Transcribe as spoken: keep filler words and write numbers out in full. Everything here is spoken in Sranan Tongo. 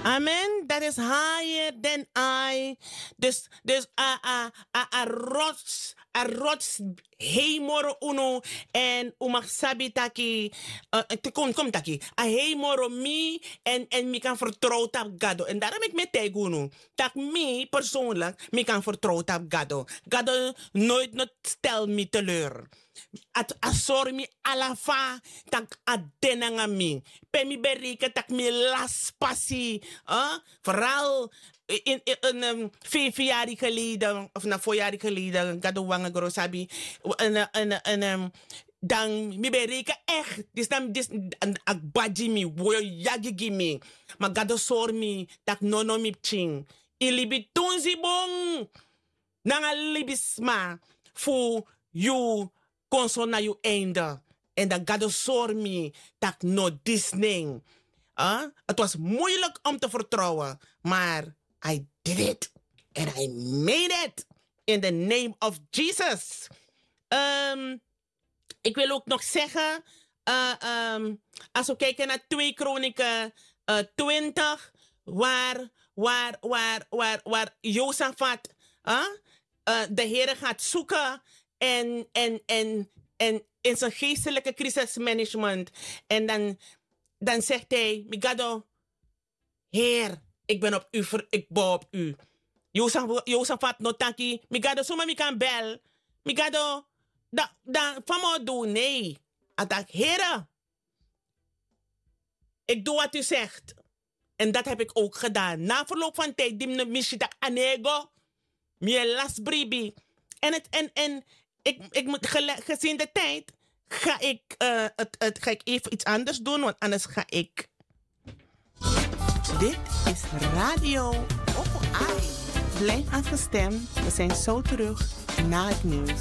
Amen. Dat is higher than I. Dus, dus a, a, a, a rots, a rots hei moro unu. En un mag sabi taki, uh, te kon, kon taki, a hei moro mi en, en mi kan vertrouwen op Gado. En daarom ik me tegen unu. Dat mi persoonlijk, mi kan vertrouwen op Gado. Gado nooit, nooit stel mi teleur. A sori mi alafa, tak a de nanga mi. Pe mi bereken tak mi lasi pasi. Vooral in, in, in um, vijf jaar geleden, of na vier jaar geleden, Gado wanga gro sabi. En, en, en, um, dan mi bereken echt. Dis dan, dis, a gbadi mi, woyo yagi gi mi. Ma Gado sori mi, tak nono mi pikin. I libi tunzi bun. Nanga libisma fu yu kon so na yu einde. En dan Gado sori mi tak no disning. Het was moeilijk om te vertrouwen, maar I did it. And I made it. In the name of Jesus. Um, Ik wil ook nog zeggen, uh, um, als we kijken naar twee Kronieken uh, twintig, waar, waar, waar, waar, waar Josafat, uh, uh, de Heer gaat zoeken en, en, en, en in zijn geestelijke crisismanagement. En dan, dan zegt hij, Migado, Heer, ik ben op u, ver, ik bouw op u. Josafat no taki, Migado, zomaar mi kan bel. Migado, dan, dan, van me doen, nee. Hij dacht, Heer, ik doe wat u zegt. En dat heb ik ook gedaan. Na verloop van tijd, die misi tak anego, mi e lasi bribi. En, het, en, en ik, ik moet gele, gezien de tijd, ga ik, uh, het, het, ga ik even iets anders doen, want anders ga ik. Dit is Radio Opo Ai. Blijf afgestemd, we zijn zo terug na het nieuws.